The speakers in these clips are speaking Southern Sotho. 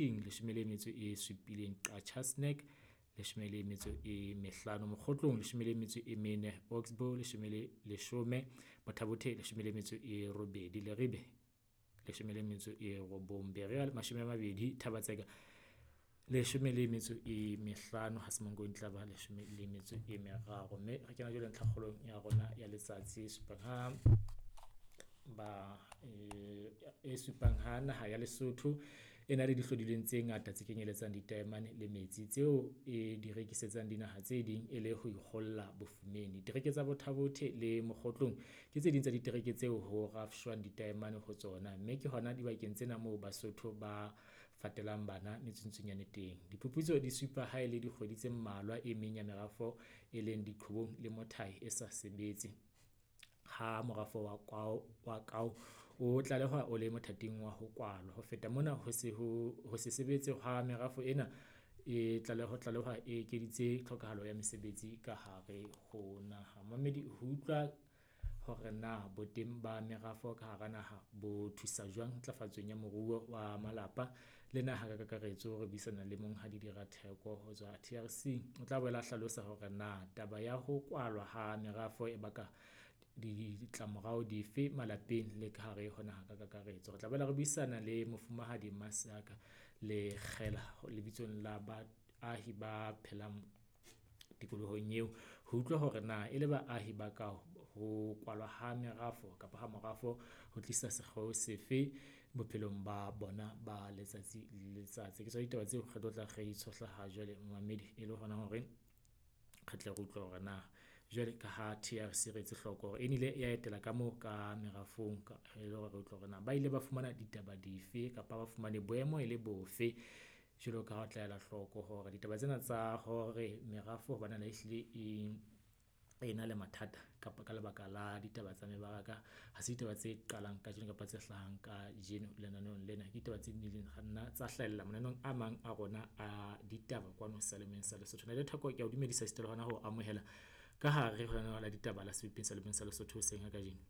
17, Qacha's Nek 15, Mokgotlong 14, Oxbow 10, Botha Bothe 18, Leribe 19, Berea 20, Thaba-Tseka 15, ha Semonkong e tla ba 13. Mme re kena jwale ntlhakgolong ya rona ya letsatsi e supang ha ba e supang ha naha ya Lesotho e na le dihlodilweng tse ngata tse kenyeletsang ditaemane le metsi tseo e di rekisetsang dinaha tse ding e le ho ikgolla bofumeng. Ditereke tsa Botha Bothe le Mokgotlong ke tse ding tsa ditereke tseo ho rafshwang ditaemane ho tsona, mme ke hona dibakeng tsena moo Basotho ba fatelang bana metsuntsunyane teng. Diphuputso di supa ha e le dikgwedi tse mmalwa e meng ya merafo e leng Diqhobong le Mothae e sa sebetse, ha morafo wa Kao o tlalehwa o le mothating wa ho kwalwa. Ho feta mona, ho se sebetse ha merafo ena e tlalehwa e ekeditse tlhokahalo ya mesebetsi ka hare ho naha. Momamedi, ho utlwa hore na boteng ba merafo ka hara naha bo thusa jwang ntlafatsong ya moruo wa malapa le naha ka kakaretso, re buisana le Monghadi Dira Theko ho tswa TRC. O tla boela a hlalosa hore na taba ya ho kwalwa ha merafo e baka ditlamorao dife malapeng le ka hare ho naha ka kakaretso. Re tla boela re buisana le Mofumahadi Masaka Lekgela lebitsong la baahi ba phelang tikolohong eo, ho utlwa hore na e le baahi ba ka ho kwalwa ha merafo kapa ha morafo ho tlisa sekgeo sefe bophelong ba bona ba letsatsi le letsatsi. Ke tsona ditaba tseo re tlo tla re di tshohla ha jwale momamedi, e le hona hore re tle re utlwe hore na jwale ka ha TRC re etse hloko hore e nile ya etela ka moo ka merafong, e le hore re utlwe hore na ba ile ba fumana ditaba dife kapa ba fumane boemo e le bofe. Jwalo ka ha o tla ela hloko hore ditaba tsena tsa hore merafo ho bonahala ehlile e na le mathata kapa ka lebaka la ditaba tsa mebaraka, ha se ditaba tse qalang kajeno kapa tse hlahang kajeno lenaneong lena. Ke ditaba tse nnileng nna tsa hlahella mananeong a mang a rona a ditaba kwano seyalemoyeng sa Lesotho. Ntate Theko, ke a o dumedisa esita le hona ho amohela ka hare ho lenaneo la ditaba la Sebopeng Seyalemoyeng sa Lesotho hoseng ha kajeno.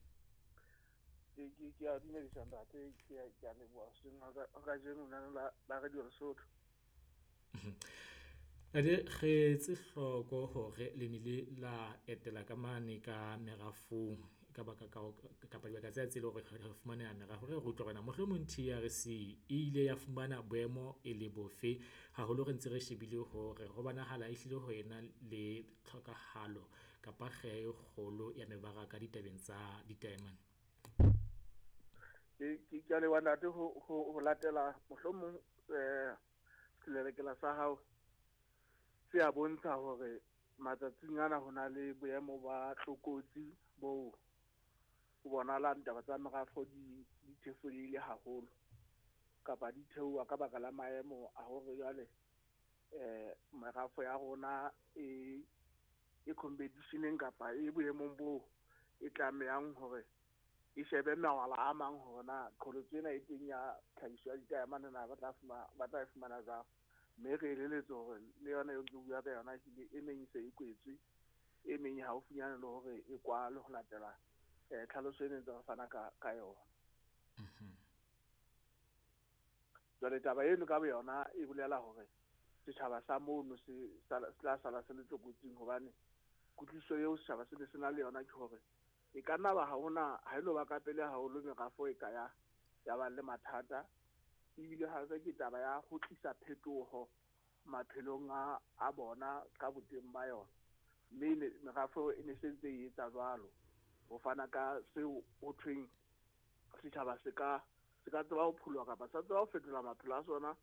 Ke a dumedisa ntate, ke a leboha hoseng ha kajeno lenaneo la Radio Lesotho. Ntate, re etse hloko hore le nile la etela ka mane ka merafong ka baka kapa dibaka tsena tse leng hore re fumaneha merafo. Re re utlwe hore na mohlomong TRC e ile ya fumana boemo e le bofe, haholo re ntse re shebile hore ho bonahala ehlile ho ena le tlhokahalo kapa kgeha e kgolo ya mebaraka ditabeng tsa ditaemane. Ke a leboha ntate ho latela mohlomong selelekela sa hao se a bontsha hore matsatsing ana ho na le boemo ba tlokotsi bo ho bonahalang taba tsa merafo di thefuleile haholo kapa di theoha ka baka la maemo a hore jwale merafo ya rona e competition-eng kapa e boemong bo e tlamehang hore e shebe mawala a mang hore na qholotso ena e teng ya tlhahiso ya ditaemane na ba tla e fumana jwang. Mme re eleletswe hore le yona eo ke bua ka yona ehlile e meng e se e kwetswe, e meng e haufinyane le hore e kwalwe ho latela tlhaloso e ne ntse re fana ka yona. Jwale taba eno ka boyona e bolela hore setjhaba sa mono se tla sala se le tlokotsing, hobane kutlwisiso eo setjhaba se ne se na le yona ke hore e ka nna ba ha hona ha elo ba ka pele haholo merafo e ka ya ba le mathata, ebile hape ke taba ya ho tlisa phetoho maphelong a bona ka boteng ba yona. Mme merafo e ne se ntse e etsa jwalo ho fana ka seo ho thweng setjhaba se ka tseba ho pholoha kapa sa tseba ho fetola maphelo a sona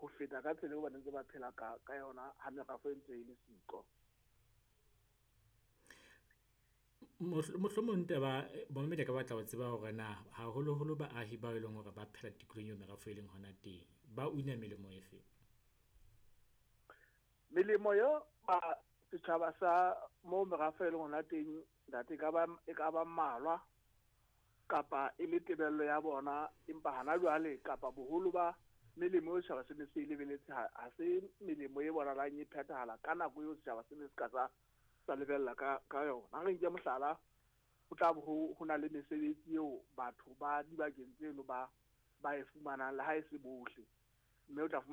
ho feta ka tsela eo ba ntse ba phela ka yona ha merafo e ntse e le siko. Mohlomong taba momamedi a ka batla ho tseba hore na haholoholo baahi bao e leng hore ba phela tikolohong eo merafo e leng hona teng, ba una melemo efe? Melemo eo ba setjhaba sa moo merafo e leng hona teng ntate, e ka ba mmalwa kapa e le tebello ya bona, empa hana jwale kapa boholo ba melemo eo setjhaba se ne se e lebeletse ha se melemo e bonahalang e phethahala ka nako eo setjhaba se ne se ka sa lebella ka yona. Ha re nke mohlala, ho tla ho na le mesebetsi eo batho ba dibakeng tseno ba e fumanang le ha e se bohle, mme o tla fumana